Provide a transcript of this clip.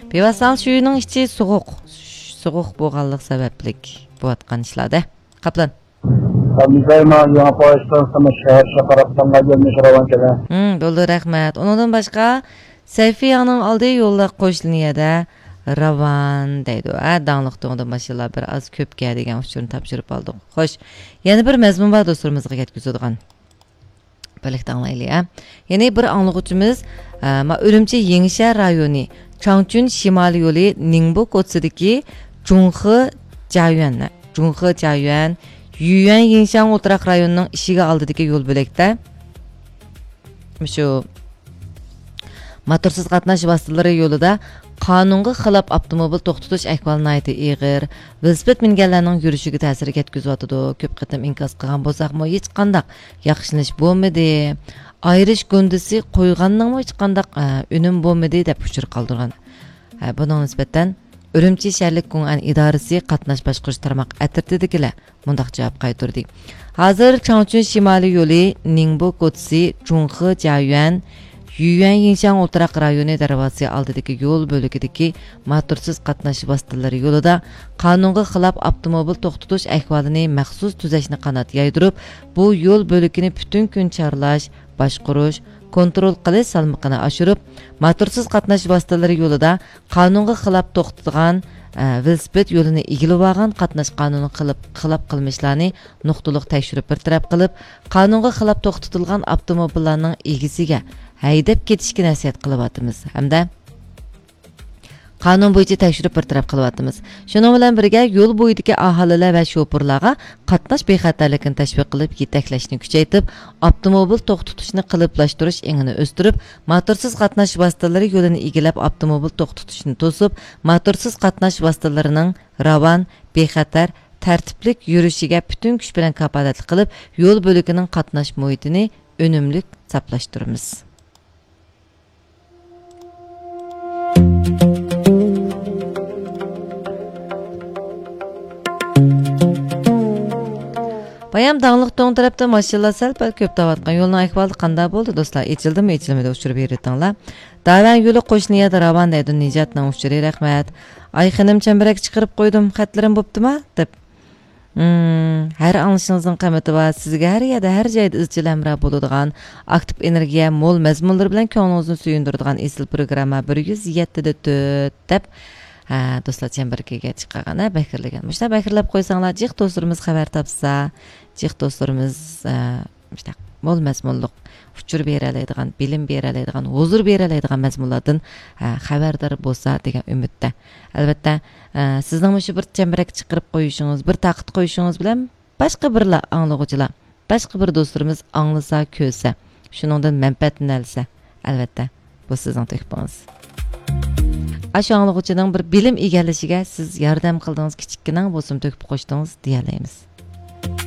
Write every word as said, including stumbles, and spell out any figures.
بىۋاسىتە شۇ يىلنىڭ ئىچى سوغۇق، سوغۇق بولغانلىق سەۋەبلىك بولۇۋاتقان ئىشلار-دە. قاپلان. ئابدۇسايما يېڭى پويىز ئىستانسىسىمۇ شەھەر شاقاراپتانغا يۆنىلىش راۋان كېلە. ھىم، بولدى، رەھمەت. ئۇنىڭدىن باشقا، سەيفىياڭنىڭ ئالدى يوللۇق قوش لىنىيەدە راۋان دەيدۇ. ھە، داڭلىق تۇڭدىن ماشىنىلار بىر ئاز كۆپكە دېگەن ئۇچۇرنى تاپشۇرۇپ ئالدۇق. خوش، يەنە بىر مەزمۇن بار دوستلىرىمىزغا يەتكۈزىدىغان. بىرلىكتە ئاڭلايلى، ھە. يەنى بىر ئاڭلىغۇچىمىز، ئە، ما-، ئۈرۈمچى يېڭىشەھەر رايونى، چاڭچۈن شىمالىي يولى نىڭبۇ كوچىسىدىكى جۇڭخې جيايۈەن، جۇڭخې جيايۈەن، يۈيۈەن يىڭشاڭ ئولتۇراق رايونىنىڭ ئىشىكى ئالدىدىكى يول بۆلەكتە مۇشۇ موتورسىز قاتناش ۋاسىتىلىرى يولىدا قانۇنغا خىلاپ ئاپتوموبىل توختىتىش ئەھۋالى ناھايىتى ئېغىر. ۋېلىسىپىت مىنگەنلەرنىڭ يۈرۈشىگە تەسىر يەتكۈزۈۋاتىدۇ. كۆپ قېتىم ئىنكاس قىلغان بولساقمۇ، ھېچقانداق ياخشىلىنىش بولمىدى. ئايرىش گۇندىسى قويغاننىڭمۇ ھېچقانداق، ئە، ئۈنۈم بولمىدى، دەپ ئۇچۇر قالدۇرغان. ئە، بۇنىڭغا نىسبەتەن ئۈرۈمچى شەھەرلىك گۇڭئەن ئىدارىسى قاتناش باشقۇرۇش تارماق ئەترىتىدىكىلەر مۇنداق جاۋاب قايتۇردى. ھازىر چاڭچۈن شىمالىي يولى نىڭبۇ كوچىسى جۇڭخې جيايۈەن، يۈيۈەن يىڭشاڭ ئولتۇراق رايونى دەرۋازىسى ئالدىدىكى يول بۆلىكىدىكى موتورسىز قاتناش ۋاسىتىلىرى يولىدا قانۇنغا خىلاپ ئاپتوموبىل توختىتىش ئەھۋالىنى مەخسۇس تۈزەشنى قانات يايدۇرۇپ، بۇ يول بۆلىكىنى پۈتۈن كۈن چارلاش، باشقۇرۇش، كونترول قىلىش سالمىقىنى ئاشۇرۇپ، موتورسىز قاتناش ۋاسىتىلىرى يولىدا قانۇنغا خىلاپ توختىتىلغان، ئە، ۋېلىسىپىت يولىنى ئىگىلىۋالغان قاتناش قانۇنىغا خىلاپ، خىلاپ قىلمىشلارنى نۇقتىلىق تەكشۈرۈپ بىر تەرەپ قىلىپ، قانۇنغا خىلاپ توختىتىلغان ئاپتوموبىللارنىڭ ئىگىسىگە ھەيدەپ كېتىشكە نەسىھەت قىلىۋاتىمىز ھەمدە قانۇن بويىچە تەكشۈرۈپ بىر تەرەپ قىلىۋاتىمىز. شۇنىڭ بىلەن بىرگە، يول بويىدىكى ئاھالىلەر ۋە شوپۇرلارغا قاتناش بىخەتەرلىكىنى تەشۋىق قىلىپ، يېتەكلەشنى كۈچەيتىپ، ئاپتوموبىل توختىتىشنى قېلىپلاشتۇرۇش ئېڭىنى ئۆستۈرۈپ، موتورسىز قاتناش ۋاسىتىلىرى يولىنى ئىگىلەپ، ئاپتوموبىل توختىتىشنى توسۇپ، موتورسىز قاتناش ۋاسىتىلىرىنىڭ راۋان، بىخەتەر، تەرتىپلىك يۈرۈشىگە پۈتۈن كۈچ بىلەن كاپالەتلىك قىلىپ، يول بۆلىكىنىڭ قاتناش مۇھىتىنى ئۈنۈملۈك ساپلاشتۇرىمىز. بايام داڭلىق توڭ تەرەپتە ماشىنىلار سەل پەل كۆپ دەۋاتقان يولنىڭ ئەھۋالى قانداق بولدى، دوستلار؟ ئېچىلدىمۇ، ئېچىلمىدى، ئۇچۇر بېرىۋېتىڭلار. داۋەن يولى قوشنا يەردە راۋان دەيدۇ، نىجاتنىڭ ئۇچۇرى، رەھمەت. ئاي خېنىم، چەمبىرەك چىقىرىپ قويدۇم، خەتلىرىم بوپتىما؟ دەپ. مم، ھەر ئاڭلىشىڭىزنىڭ قىممىتى بار. سىزگە ھەر يەردە، ھەر جايدا ئىزچىل ھەمراھ بولىدىغان، ئاكتىپ ئېنېرگىيە مول مەزمۇنلىرى بىلەن كۆڭلىڭىزنى سۆيۈندۈرىدىغان ئېسىل پروگرامما بىر يۈز يەتتىدە تۆت دەپ، ھە، دوستلار چەمبىرىكىگە چىقارغان، ھە، بەكرىلىگەن. مۇشۇنداق بەكرىلەپ قويساڭلار، جىق دوستلىرىمىز خەۋەر تاپسا، جىق دوستلىرىمىز، ھە، مۇشۇنداق مول مەزمۇنلۇق ئۇچۇر بېرەلەيدىغان، بىلىم بېرەلەيدىغان، ھۇزۇر بېرەلەيدىغان مەزمۇنلاردىن، ھە، خەۋەردار بولسا دېگەن ئۈمىدتە. ئەلۋەتتە، ھە، سىزنىڭ مۇشۇ بىر چەمبىرەك چىقىرىپ قويۇشىڭىز، بىر تارقىتىپ قويۇشىڭىز بىلەن باشقا بىرلا ئاڭلىغۇچىلار، باشقا بىر دوستلىرىمىز ئاڭلىسا، كۆرسە، شۇنىڭدىن مەنپەئەتلىنەلىسە، ئەلۋەتتە، بۇ سىزنىڭ تۆھپىڭىز. ئاشۇ ئاڭلىغۇچىنىڭ بىر بىلىم ئىگىلىشىگە سىز ياردەم قىلدىڭىز، كىچىككىنە بولسىمۇ تۆھپە قوشتىڭىز دېيەلەيمىز.